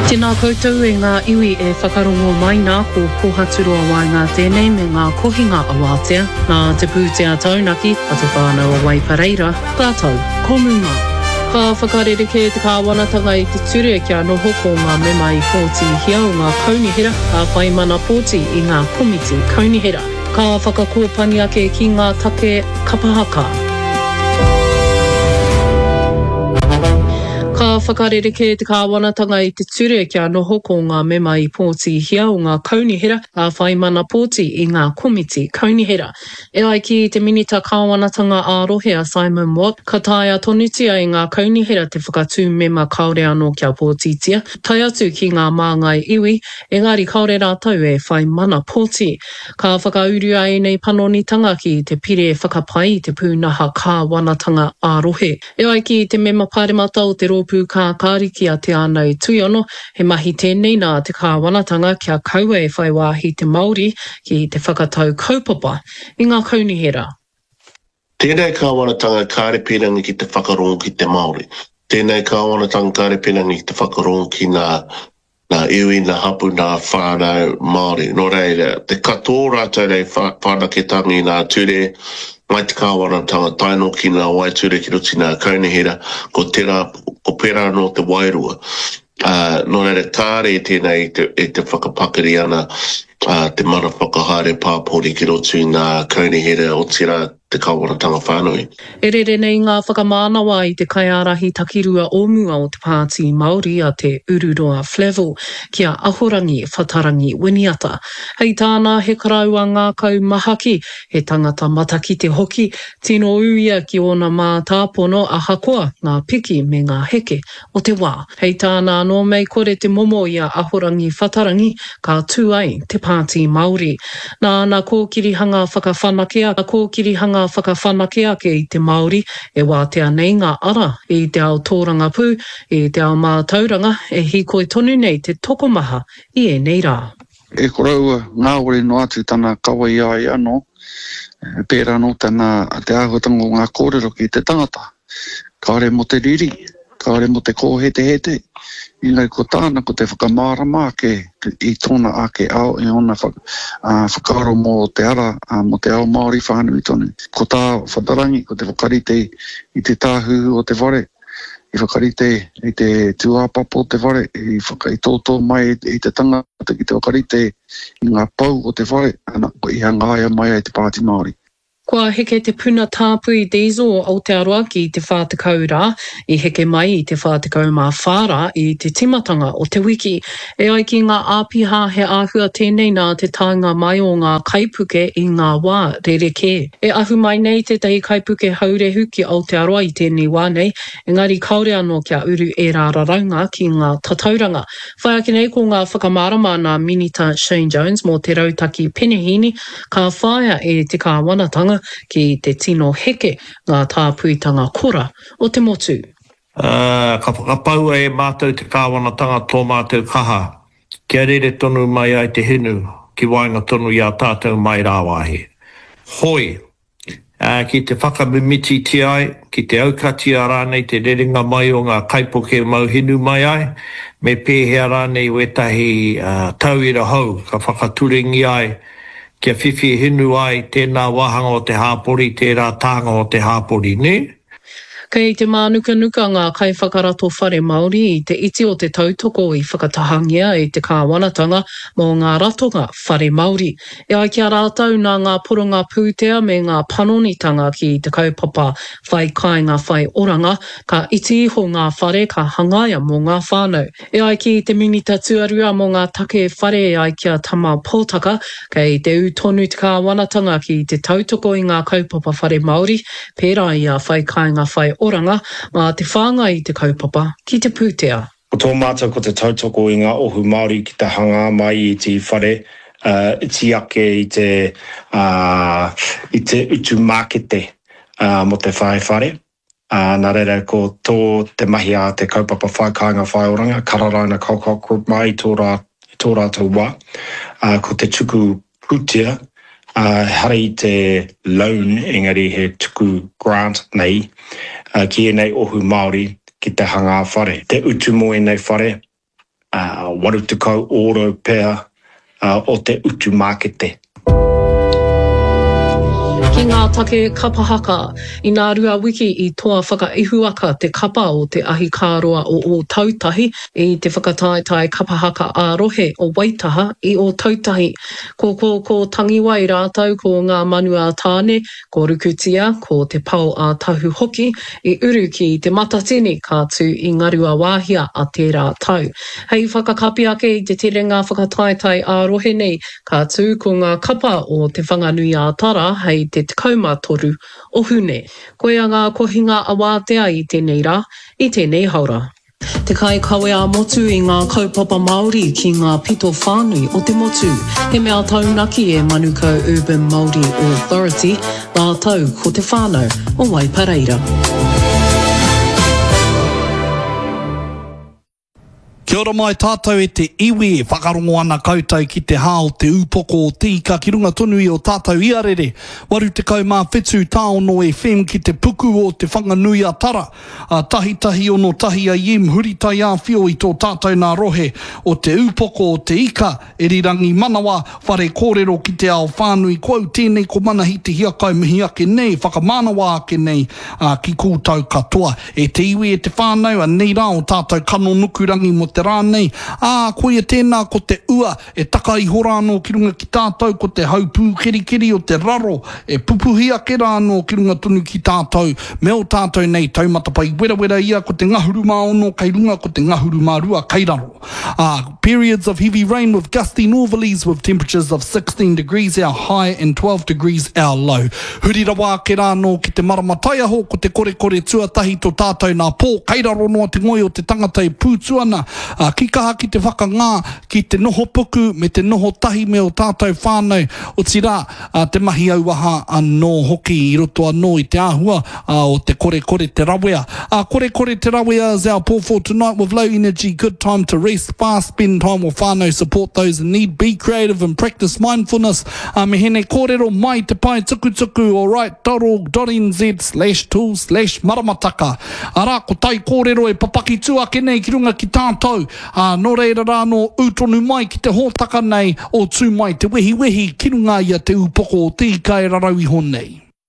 Tēnā koutou e ngā iwi e whakarongo mai nā, ko Kōhaturoa Waenga tēnei me ngā kohinga awātea, nā te pūtea taunaki a Te Whānau o Waipareira, rātou ko Muma. Ka whakarerekē te kāwanatanga i te ture kia noho ko ngā mema i pōtihia o ngā kaunihera ka whai mana pōti i ngā komiti kaunihera. Ka whakakōpani ake ki ngā take kapa haka. Ka whakarerekē te kāwanatanga i te ture kia noho ko ngā mema i pōtihia o ngā kaunihera ka whai mana pōti i ngā komiti kaunihera. E ai ki te Minita Kāwanatanga ā-Rohe a Simon Watt, ka taea tonutia e ngā kaunihera te whakatū mema kāore anō kia pōtitia, tae atu ki ngā māngai iwi, engari kāore rātou e whai mana pōti. Ka whakaurua ēnei panonitanga ki te Pire Whakapai i te Pūnaha Kāwanatanga ā-Rohe. E ai ki te Mema Pāremata o te Rōpū Kākāriki a Te Ānau Tuiono, he mahi tēnei nā te kāwanatanga kia kaua e whai wāhi te Māori ki te whakatau kaupapa i ngā kaunihera. Tēnei kāwanatanga kāre pīrangi ki te whakarongo ki te Māori. Tēnei kāwanatanga kāre pīrangi ki te whakarongo ki ngā Nā iwi, nā hapu, nā whānau Māori. Nō reira, te katoa o rātou nei whanaketanga i ngā ture, mai te kāwanatanga tae noa ki ngā waeture ki roto i ngā kaunihera, ko tērā, ko pērā anō te wairua. Ā, nō reira, kāre tēnei i te, i te whakapakari ana te mana whakahaere pāpori ki roto i ngā kaunihera, otirā, te kāwanatanga whānui. E rere nei ngā whakamānawa i te kaiārahi takirua o mua o te Pāti Māori a Te Ururoa Flavell ki a Ahorangi Whatarangi Winiata. Hei tāna he karaua ngākau mahaki, he tangata matakite hoki, tino ū ia ki ōna mātāpono ahakoa ngā piki me ngā heke o te wā. Hei tāna anō mei kore te momo i a Ahorangi Whatarangi ka tū ai te Pāti Māori. Nā ana kōkirihanga whakawhanake a kōkirihanga whakawhanake ake i te Māori e wātea nei ngā ara i te ao tōrangapū, i te ao mātauranga e hīkoi tonu nei te tokomaha i ēnei rā. E koroua, ngāwari noa atu tana kawe i a ia anō, pērā anō tana, te āhuatanga o ngā kōrero ki te tangata. Kāore mō te riri, kāore mō te kōhetehete, engari ko tāna ko te whakamārama ake i tōna ake ao, i ōna whakaaro mō te ara, mō te ao Māori whānui tonu. Ko tā Whatarangi, ko te whakarite i te tāhuhu o te whare, i whakarite i te tūāpapa o te whare, i whakaitōtō mai i te tangata ki te whakarite i ngā pou o te whare, ana, i hangaia mai ai te Pāti Māori. Kua heke te puna tāpui diesel o Aotearoa ki te 40 rā, i heke mai i te 44 rā i te tīmatanga o te wiki. E ai ki ngā āpiha he āhua tēnei nā te taenga mai o ngā kaipuke i ngā wā rerekē. E ahu mai nei tētahi kaipuke haurehu ki Aotearoa i tēnei wā nei, engari kāore anō kia uru ērā raraunga ki ngā tatauranga. Whai ake nei ko ngā whakamārama nā Minita Shane Jones mō te rautaki penehīni ka whāia e te kāwanatanga ki te tino heke ngā tāpuitanga kora o te motu. Ā, ka whakapaua e mātou te kāwanatanga tō mātou kaha kia rere tonu mai ai te hinu ki waenga tonu i a tātou mai rāwāhi. Hoi, ā, ki te whakamimititia ai, ki te aukatia rānei te rerenga mai o ngā kaipuke mau hinu mai ai, me pēhea rānei wētahi tauira hou ka whakaturengia ai kia whiwhi hinu ai tēnā wāhanga o te hāpori, tērā tānga o te hāpori, nē? Kei te mānukanuka ngā kaiwhakarato whare Māori i te iti o te tautoko i whakatahangia e te kāwanatanga mō ngā ratonga whare Māori. E ai ki a rātou nā ngā poronga pūtea me ngā panonitanga ki te kaupapa Whai Kāinga Whai Oranga, ka iti iho ngā whare ka hangaia mō ngā whānau. E ai ki te Minita Tuarua mō ngā Take Whare e ai ki a Tama Potaka, kei te ū tonu te kāwanatanga ki te tautoko i ngā kaupapa whare Māori, pērā i a Whai Kāinga Whai Oranga, mā te whāngai i te kaupapa ki te pūtea. Ko tō mātou ko te tautoko i ngā ohu Māori ki te hangā mai i te whare iti ake i te i te utu mākete mō te whai whare. Ā, nā reira ko tō te mahi a te kaupapa Whai Kāinga Whai Oranga, Kararaina Colcock Group mai i tō rā, i tō rātou wā, ā, ko te tuku pūtea, ā, ehara i te loan engari he tuku grant nei, ā, ki ēnei ohu Māori ki te hangā whare. Te utu mō ēnei whare. 80 ōrau pea o te utu mākete. Ki ngā take kapa haka, inā rua wiki i toa whakaihuwaka te kapa o Te Ahikāroa o Ōtautahi i te whakataetae kapa haka ā-rohe o Waitaha i Ōtautahi. Ko Kōkō Tangiwai rātou ko Ngā Manu a Tāne, ko Rukutia, ko Te Pao a Tahu hoki i uru ki Te Matatini ka tū i Ngaruawāhia a tērā tau. Hei whakakapi ake i te terenga whakataetae ā-rohe nei, ka tū ko ngā kapa o Te Whanganui-ā-Tara hei te 13 o Hune. Koia ngā kohinga awātea i tēnei rā, i tēnei haora. Te kaikawe ā-motu i ngā kaupapa Māori ki ngā pito whānui o te motu. He mea taunaki e Manukau Urban Māori Authority rātou ko te whānau o Waipareira. Kia ora mai tātou e te iwi, e whakarongo ana koutou ki te hā o te ūpoko o te ika ki runga tonu i o tātou iarere, 87 tāono FM ki te puku o Te Whanganui-a-Tara, a tahitahi ono tahi AM huri taiāwhio i tō tātou nā rohe o te ūpoko o te ika, Erirangi manawa, whare kōrero ki te ao whānui, ko au tēnei ko Manahi Te Hiakai mihi ake nei, whakamānawa ake nei ki koutou katoa. E te iwi, e te whānau, anei rā o tātou kano nukurangi mō te rā nei, ā, koia tēnā ko te ua e taka iho rā anō ki runga ki tātou, ko te hau pūkerikeri o te raro e pupuhi ake rā anō ki runga tonu ki tātou, me ō tātou nei taumata pai werawera ia ko te ngahuru mā ono kei runga, ko te ngahuru mā rua kei raro. Ā, periods of heavy rain with gusty northerlies with temperatures of 16 degrees our high and 12 degrees our low. Huri rawa ake rā anō ki te marama taiaho, ko te korekore tuatahi tō tātou nā pō, kei raro noa te ngoi o te tangata e pūtu ana, ā, ki kaha ki te whakangā, ki te noho puku me te noho tahi me ō tātou whānau, otirā, ā, te mahi auaha anō hoki i roto anō i te āhua, ā, o te korekore te rawea. Ā, korekore te rawea is our pō for tonight with low energy, good time to rest, fast, spend time with whānau, support those in need, be creative and practice mindfulness. Ā, me hene kōrero mai te pae tukutuku alright dot org dot nz slash tool slash maramataka. Arā, ko tai kōrero e papaki tū ake nei ki runga ki tātou, Ā, nō reira rā anō ū tonu mai ki te hōtaka nei o Tū Mai Te Wehiwehi ki runga i a Te Ūpoko o Te Ika e rarau iho nei.